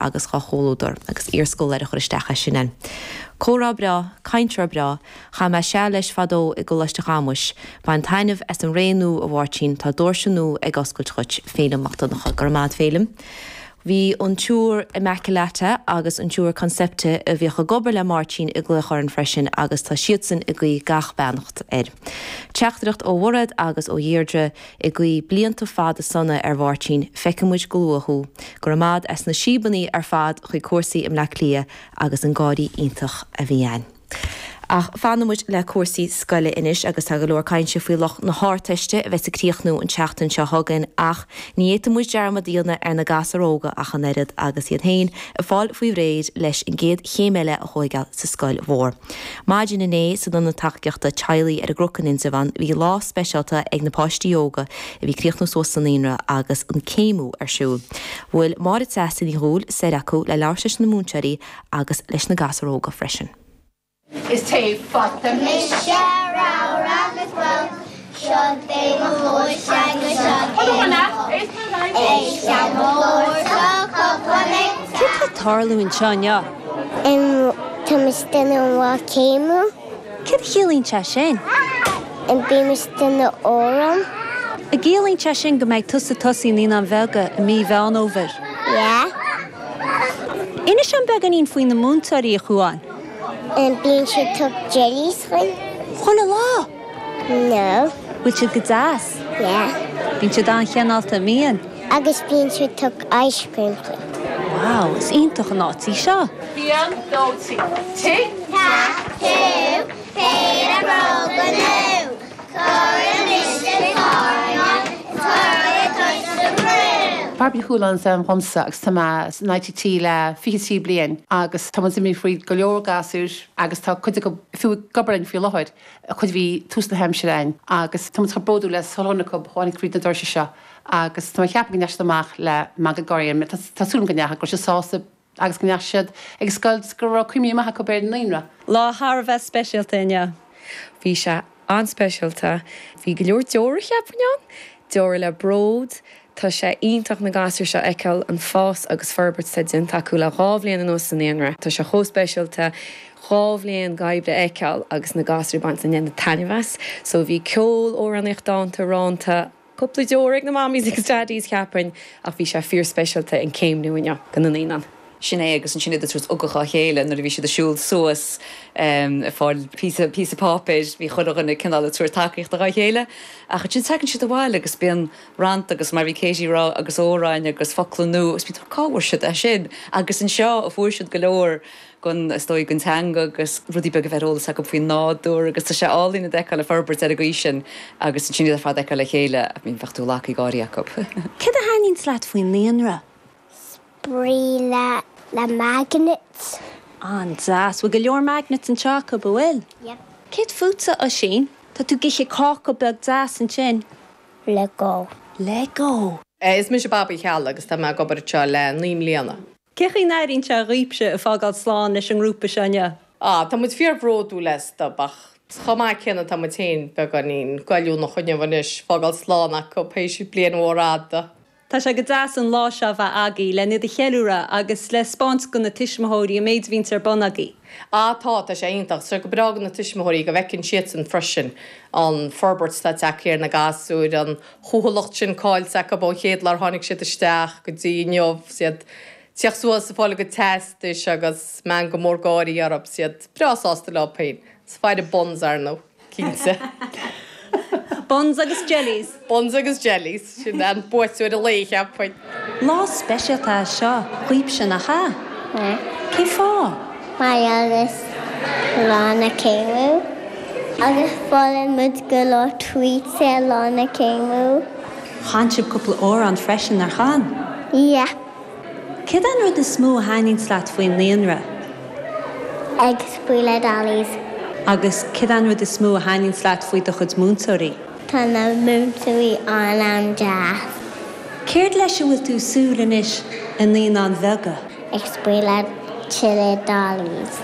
Agus dhá chomhluadar, agus iarscólaire a chur isteach as sin ann. Comhrá breá, cainteoir breá, chaith mé seal leis fadó i gColáiste Chamuis. Bain taitneamh as an ré nua a Mháirtín, tá doirse nua ag oscailt dhuit. Féilim Mac Donncha. Go raibh maith a't Féilim. Bhí an tSiúr Immaculata agus an tSiúr Concepta a bhíodh ag obair le Máirtín ag glaoch orainn freisin agus tá siadsan ag guí gach beannacht air. Teachtaireacht ó Mhairéad agus ó Dheirdre. Ag guí blianta fada sona ar Mháirtín, feicfidh muid go luath thú. Go raibh maith a'd as na síobannaí ar fad chuig cúrsaí i mBleá Cliath agus an gáirí iontach a bhí ann. Ach fanfaidh muid le cúrsaí scoile anois agus tá go leor cainte faoi lucht na hArdteiste a bheas ag críochnú an tseachtain seo chugainn ach ní fhéadfaidh muid dearmad a dhéanamh ar na gasúir óga ach an oiread agus iad féin ag fáil faoi réir leis an gcéad chéim eile a thóigeáil sa scoil mhór. Maidin inné, san Ionad Tacaíochta Teaghlaigh ar an gCnoc in Indreabhán, bhí lá speisialta ag na páistí óga a bhí ag críochnú suas sa naíonra agus an céimiú ar siúl. Bhuail Máire Treasa Ní Dhubhghaill soir acu le labhairt leis na múinteoirí agus leis na gasúir óga freisin. Is taobh fata mise ramhar agus bog, Seo é mo chluais agus seo é mo bhoc, Éist le mo ghlór sa chupán ag Céard tá ag tarlú anseo inniu? Tá muid ag déanamh an lá céimiú. Céard a chiallaíonn sé sin? Bíonn muid ag déanamh amhrán. An gciallaíonn sé sin go mbeidh tusa ag tosaí i Naíonáin Bheaga i mí Mheán Fhómhair? Yeah. Inis dom beagáinín faoi na múinteoirí, a Chuáin. Bíonn siad ag tabhairt jellies dhuinn. Chuile lá? No. Bhfuil siad go deas? Yeah. Bíonn siad an-chineálta, an mbíonn? Agus bíonn siad ag tabhairt ice cream dhuinn. Wow, is iontach an áit í seo. Haon, dó, trí. Tic, tac, toe, péire bróga nua, cuir anois sa tairne is cuir le tois sa bhrú. Bairbre Ní Chualáin is ainm dhomsa agus tá mé san ITT le 23 bliain agus tá muid imithe fríd go leor gasúir agus tá cuid acu fiú ag obair linn faoi láthair, cuid a bhí tús na haimsire againn agus tá muid chomh bródúil as chuile dhuine acu a tháinig fríd na doirse seo agus tá mé ag ceapadh go ndeachaigh siad amach le meangadh gáire orm. Tá súil agam go ndeachaigh, go raibh siad sásta agus go ndeachaigh siad ag scoil 's go raibh cuimhní maith acu ar an naíonra. Lá thar a bheith speisialta inniu. Bhí sé an-speisialta. Bhí go leor deora cheapfainn ann. Deora le bród. Tá sé iontach na gasúir seo a fheiceáil, an fás agus forbairt atá déanta acu le dhá bhliain anuas sa naíonra. Tá sé chomh speisialta dhá bhliain d'oibre a fheiceáil agus na gasúir ag baint an deineadh taitneamh as. So bhí ceol, amhránaíocht, dánta, rannta, cúpla deora ag na mammies agus daddies cheapfainn ach bhí sé fíor speisialta an céimniú inniu do na naíonáin. Sin é agus ansin iad ag tabhairt ugach dhá chéile nuair a bhí siad ag siúl suas ag fáil píosa píosa páipéir bhí chuile dhuine cineál ag tabhairt tacaíochta dhá chéile ach ansin tagann siad abhaile agus bíonn rannta agus mar a bhí Katie ag rá agus amhráin agus focla nua agus bíonn tú cá bhfuair siad é sin agus anseo a fuair siad go leor den is dóigh den teanga agus rudaí beaga a bheith ar eolas acu faoin nádúr agus tá sé álainn iad a fheiceáil ag forbairt ar an gcaoi sin agus ansin iad ar fad a fheiceáil le chéile I mean bheadh tú leagtha ag gáirí acu. Céard a thaitníonns leat faoin naíonra? Spraoi le le magnets. An-deas. Bhfuil go leor magnets anseo acu, an bhfuil? Yep. Céard fútsa, Oisín? Tá tú ag ithe cáca beag deas ansin. Lego. Lego! Is mise Babaí Cheallaigh agus tá mé ag obair anseo le 9 mbliana. Cé chaoi n-airíonn sé dhaoibhse ag fágáil slán leis an ngrúpa seo inniu? Ah, tá muid fíor-bhródúil astu, ach chomh maith céanna tá muid féin beagáinín goilliúnach inniu anois, fágáil slán acu théis bliain mhór fhada. Tá sé go deas an lá seo a bheith agaibh len iad a cheiliúradh agus le 'spáint go na tuismitheoirí an méid a bhíonns ar bun agaibh. Ah tá, tá sé iontach. Tá sé go breá go na tuismitheoirí go bhfeiceann siadsan freisin an forbairt atá tagtha ar na gasúir, an chúthaileacht sin caillte acu ón chéad lá ar tháinig siad isteach go dtí inniu, 's iad tíocht suas ag fáil a gcuid teastais agus meangadh mór gáirí orthu, 's iad breá sásta leo féin. 'S faire buns, ar ndóigh. Cinnte. Buns agus jellies. Buns agus jellies. Sin an buaiteoir an lae, cheapfainn. Lá speisialta é seo dhaoibhse, nach ea? Yeah. Cén fáth? Mar gheall is lá na céimiú. Agus foghlaim muid go leor treats ar lá na céimiú. Chan sibh cúpla amhrán freisin, nár chan? Yeah. Céard é an rud is mó a thaitníonns leat faoin naíonra? Ag spraoi le dollies. Agus céard é an rud is mó a thaitníonns leat faoi do chuid múinteoirí? Tá na múinteoirí an-an-deas. Céard leis a bhfuil tú ag súil anois i Naíonáin Bheaga? Ag spraoi le tuilleadh dollies.